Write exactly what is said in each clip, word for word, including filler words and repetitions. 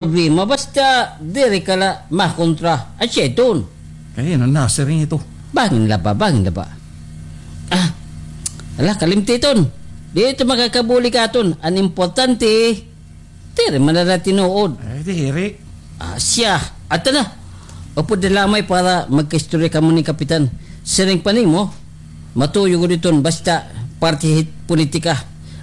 problema, basta diri ka la makontra. Asya iton. Kay ano na, sir, ito? Bangin la ba, bangin la ba? Ah, ala, kalimti iton. Di ito makakabulig aton. An importante, diri man na tinuod. Ay, diri. Ah, siya. Ato na. Upod na lamay para magkaistorya kamo ni Kapitan. Siring pa nimo, matuyo gud iton basta parte hit politika.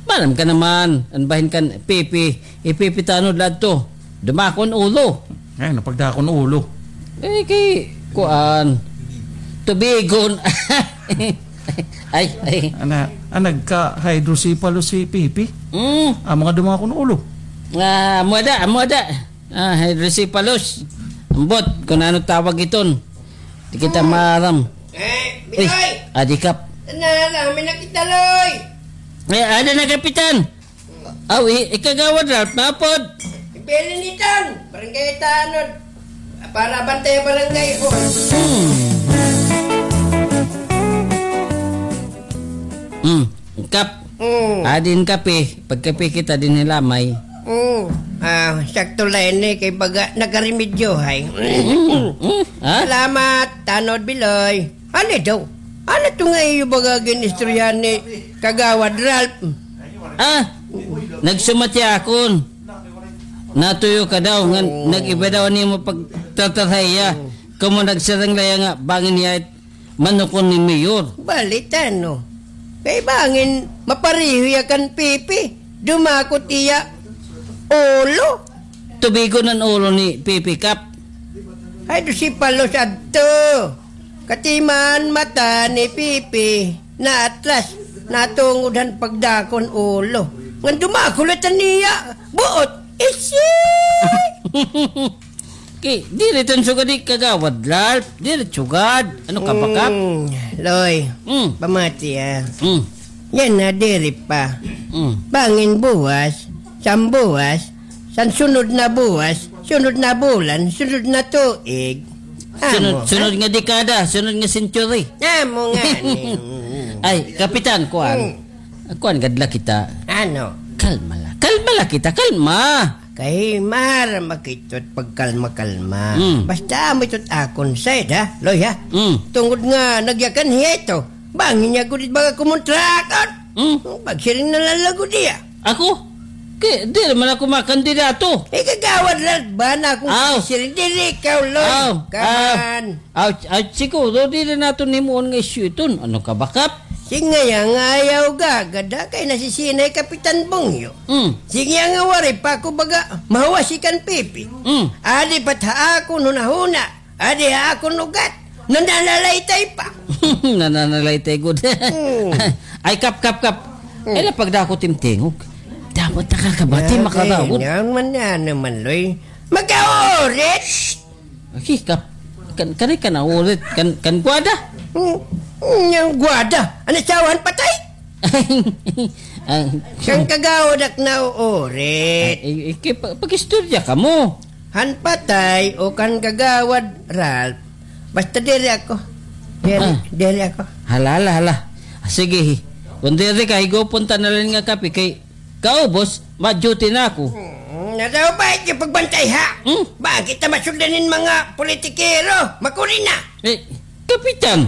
Maaram ka naman, an bahin kan Pepe, i Pepe tanod la adto. Dumakon ulo. Ay, napagdakon ulo. Eh, kay, kuan, tubigon. Ay, ay. Ana, ah, nagka-hydrocephalus si Pepe. Mm. Ah, mga dumakon ulo. Ah, amo ada, amo ada. Ah, hydrocephalus. Ambot, kung ano tawag iton. Di kita maaram. Eh, Biloy! Eh, adi kap. Ana, alam, may nakita, Loy! Eh, ada na, Kapitan. Aw, i-, ikagawad Ralph, mapod. Ibilin iton, barangay tanod. Para bantay barangay hall. Hmm. Hmm. Kap. Hmm. Adin kape. Pagkape kita dinhi lamay. Hmm. Ah, sakto la ini kay baga nagaremedyo, hay. Hmm. Hmm. Ha? Salamat, Tanod Biloy. Ano daw? Ano to nga iyo baga gin-istoryahan ni Kagawad Ralph? Ah, nagsumat hiya akon. Natuyo ka daw, nga nag-iba daw nimo pagtatarhay hiya. Kamo nagsarang la hiya nga, bangin hiya it manukon ni Mayor. Balit ano? Kay bangin, mapareho hiya kan Pipi. Dumakot hiya ulo. Tubigon an ulo ni Pipi, Kap. Ay, do si Palos adto. Katiman mata ni Pipi, naatras, natungod han pagdakon ulo. Ngan dumakot la hiya, buot, isi! Ki, diri tan sugad ni Kagawad Ralph, diri sugad. Ano ka ba, Kap? Mm, Loy, mm, pamati, ah. Mm. Yana, diri pa. Mm. Bangin buwas, sambuwas, san sunod na buwas, sunod na bulan, sunod na tuig. Sunod, amo, sunod ha? Nga dekada, sunod nga century. Amo ngani. Ay, Kapitan, kuan. Mm. Kuan gad la kita. Ano? Kalma la. Kalma la kita, kalma. Kay maaram ak ito it pagkalma-kalma. Mm. Basta amo ito it akon side, ha, Loy, ha? Mm. Tungod nga nagyakan hiya ito. Bangin niya gud it baga kumontra akon. Mm. Pagsiring na la la gud hiya. Ako? Kay, diri man ako makandidato. Eh, Kagawad Ralph ba na akon, aw, siring, diri ikaw, Loy. Aw, kaman. Aw, aw, siguro, diri naton himuon nga isyu iton. Ano ka ba, Kap? Sige nga, ayaw gagada kay nasisinay Kapitan Bongyo. Mm. Sige nga, waray pa ako baga mahuwasi kan Pipi. Mm. Adi pa it ha akon hunahuna. Adi ha akon ugat. Nananalaytay pa. Nananalaytay gud. Mm. Ay, Kap, Kap, Kap. Mm. Ay, lapagdakot im tingog. Dapat nakakabati, makadawod. Yan man, yan naman, Loy. Magkaurit! Aki, Kap, kan, kani ka naurit, kan, kan gwada? Hmm, hmm, yang gwada? Ano, asawa han patay? Ang kan Kagawad ak nauurit. Ay, ay, ay, ki-, pa-, pag-istorya kamo. Han patay o kan Kagawad Ralph. Basta diri ako. Diri, ah, diri ako. Hala, hala, hala. Ah, sige, hi. Kung diri ka, higupon ta na la ini nga kape kay kaubos, ma-duty na ako. Hmm, nadaw ba it iyo pagbantay, ha? Hmm? Bangin kita masugdan hin mga politikero. Makuri na. Eh, Kapitan.